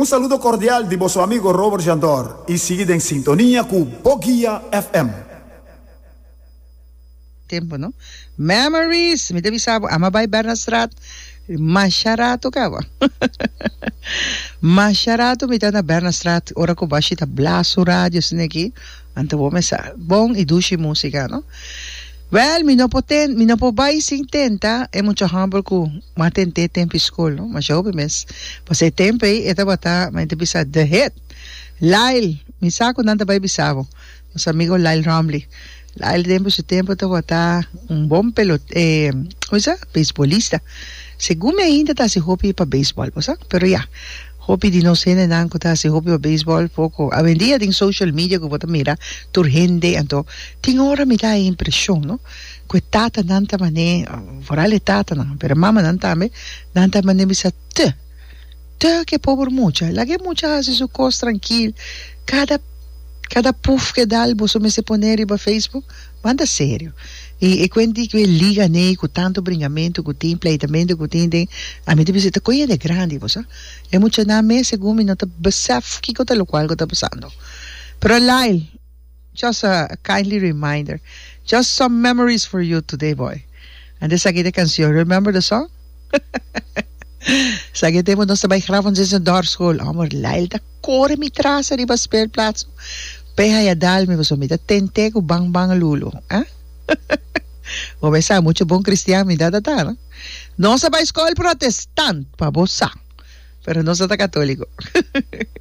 Un saludo cordial di boso amigo Robert Jandor y sigui den sintonia cu Boguia FM. Tempo no. Memories! Mi ta bisa bo, ama bai Bernardstraat masha rato caba. Masha rato mi ta na Bernardstraat ora cu bashi ta blaso radio asina aki, anto bo mesa bon y dushi musica no. Wel, mi no por ten, mi no por bai sin tenta e mucha homber cu m'a tent'é tempo y school no, masha hopi mes. Pasobra e tempo ey e tabata, mi ta bisa, the hit. Lyle, mi sa cu nan ta bai bisa bo. Nos amigo Lyle Romley. Lyle den su tempo tabata un bon pelot, eh, como se dice? Beisbolista. Segun mi ainda ta haci hopi pa beisbol, bo sa? Pero ya, hopi di nos hendenan cu ta haci hopi pa beisbol poco. Awendia den social media cu bo ta mira tur hende, anto tin ora mi ta e impresion, no? Cu e tatanan ta mane, vooral e tatanan, pero e mamanan tambe, nan ta mane bisa te, te ke pober mucha. Laga e mucha haci su cos trankil. Cada Kada puf ke dal boso mester pone riba Facebook? Banda serio. I e kuenti ku e liga nei ku tantu bringamentu ku tin, pleitamentu ku tin den, ami ta bisa ta koe hende grandi bo sa. E muchanan mes segun mi no ta besef kiko ta lokual ku ta pasando. Pero Lyle, just a kindly reminder, just some memories for you today boy. Anto esaki ta e kansion, remember the song? Esaki e tempu nos ta bai graf ons den dorpsschool. Homber, Lyle ta kore mi tras ariba speelplaats p'e haya dal mi pasobra mi ta tent'é ku ban ban lulo. Ah? Bo mes sa mucho bon cristian mi ta ta, no? Nos a bai skol protestant, pa bo sa, pero nos no ta katoliko.